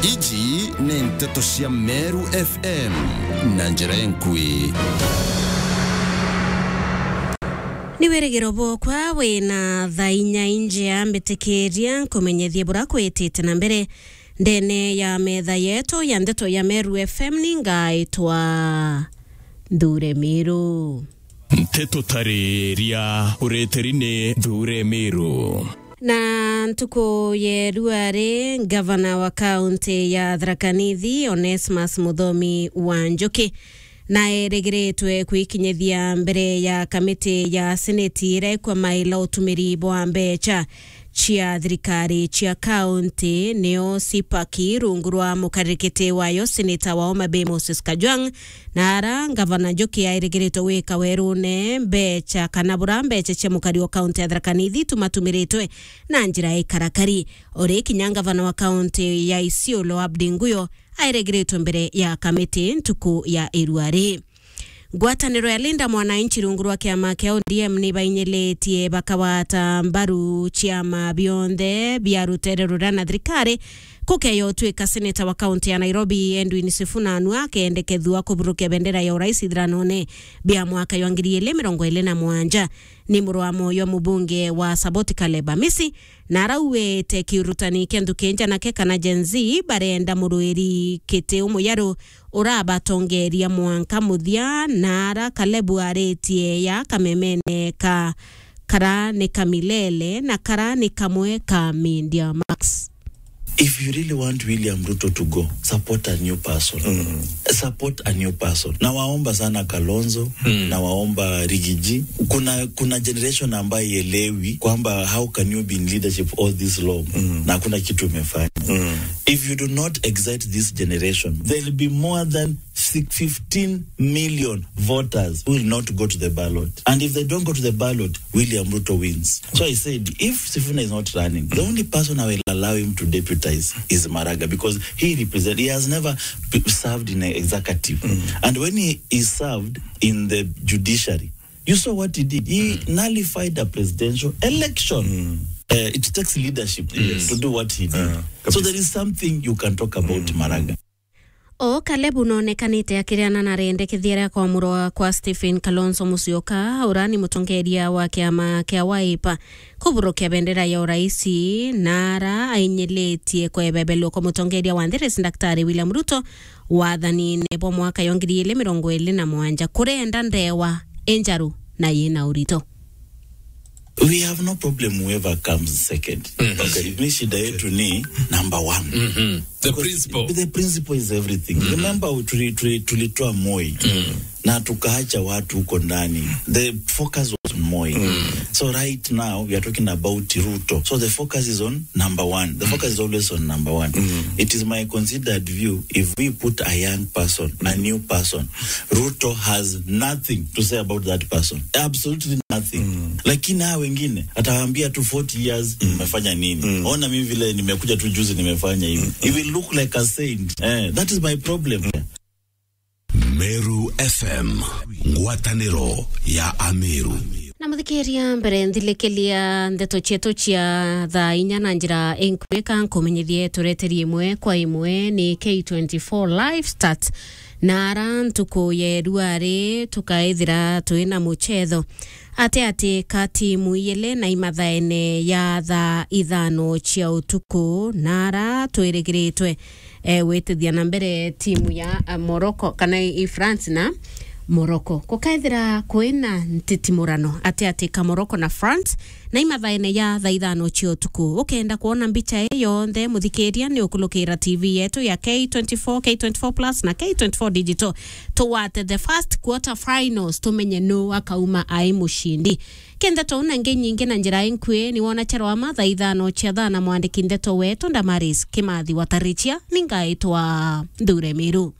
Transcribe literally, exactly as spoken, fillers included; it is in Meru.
Iji ni nteto cia Meru F M na njira enkui. Ni wirigiro bwokwa wina thaa inya injea, mbitikiria nkumenyethie bura kwitite na mbere ndene ya metha yetu ya ndeto ya Meru F M. Ni ngaitwa Nthure Miru. Nteto tariria ureteri ni Nthure Miru. Na ntuku ya ruari, ngavana wa kaunti ya Tharaka Nithi, Onesmus Muthomi wa Njuki, naerigiritwe kwikinyithia mbere ya kamiti ya seneti iria ikwamaila utumiri bwa mbecha cia thirikari cia kaunti, nio CPAC, rungu rwa mukaririkiti wayo seneta wa Homa Bay Moses Kajwang', na ara ngavana Njuki airigiritwe gwika werune mbecha kana bura mbecha cia mukari wa kaunti ya Tharaka Nithi itumatumiritwe na njira ya ikarakari. Ori kinya ngavana wa kaunti ya Isiolo Abdi Nguyo airigiritwe mbere ya kamiti ntuku ya iruari. Ngwataniro ya Linda Mwananchi rungu rwa kiama kia O D M ni bainyilitie bakagwata mbaru ciama bionthe bia rutere ruria na thirikari, kukeya utwika seneta wa kaunti ya Nairobi Edwin Sifuna nua akendekethua kuburukia bendera ya urais ithiranone bia mwaka jwa ngiri ili mirongo ili na mwanja. Ni muru wa moyo mubunge wa Saboti Caleb Amisi, na arauite kiurutani kia nthuki njanake kana Gen Z barenda muruiri kiti umuyaru urabatongeria mwanka muthia, na ara Kalebu aritie ya kamemene ka kara ni kamilele na kara ni kamwe ka Media Max. If you really want William Ruto to go, support a new person. Support a new person. Na waomba sana Kalonzo, na waomba Rigiji. Kuna, kuna generation ambayo ielewi kwamba how can you be in leadership all this long na hakuna kitu umefanya. If you do not excite this generation, there'll be more than six, fifteen million voters who will not go to the ballot. And if they don't go to the ballot, William Ruto wins. So I said, if Sifuna is not running, the only person I will allow him to deputize is Maraga, because he represent, he has never p-, served in an executive. And when he, he served in the judiciary, you saw what he did. He nullified a presidential election. Uh, it takes leadership to do what he did. So there is something you can talk about Maraga. O Kalebu nonekanite akiriana na rendekethia ria kwamurwa kwa Stephen Kalonzo Musyoka, ura ni mutongeria wa kiama kia Wiper, kuburukia bendera ya uraisi, na ara ainyilitie kwebebelwa kwa mutongeria wa nthi rais Daktari William Ruto wathanine bwa mwaka ya ngiri ili mirongo ili na mwanja, kurenda ndewa injaru na yina urito. We have no problem whoever comes second. Okay. Mi shida yetu ni number one. The principle. The principle is everything. Remember, tuli-, tuli-, tulitoa Moi na tukaacha watu huko ndani. The focus was on Moi. So right now we are talking about Ruto. So the focus is on number one. The focus is always on number one. It is my considered view, if we put a young person, a new person, Ruto has nothing to say about that person. Absolutely nothing. Lakini hawa wengine, atawaambia tu forty years, mmefanya nini? Ona mimi vile nimekuja tu juzi nimefanya hivi. He will look like a saint. Eh, that is my problem. Meru F M, ngwataniro ya Ameru. Na muthikiria, mbere nthilikiria ndeto cietu cia thaa inya na njira inkwika, nkumenyithie tureteri imwe kwa imwe ni K twenty-four Live Stats. Na ara ntuku ya ruari tukaithira twina muchetho ati ati ka timu iyele na imathaene ya thaa ithano cia utuku, na ara twirigiritwe, eh, gwitithia na mbere timu ya, eh, Morocco, kana i France na Morocco. Gukaethira kwina ntitimurano ati ati ka Morocco na France, na imathaene ya thaa ithano cia utuku. Ukenda kwona mbicha ii yonthe, muthikiria, ni ukulukira T V yetu ya K twenty-four, K twenty-four Plus na K twenty-four Digital. Tugwate the first quarter finals, tumenye nu akauma ai mucindi. Kindeto na ngi nyingi na njira inkui, ni wona chero ama thaa ithano cia thaa na mwandiki ndeto wetu Damaris Kimathi wa Tarichia, ni ngaitwa Nthure Miru.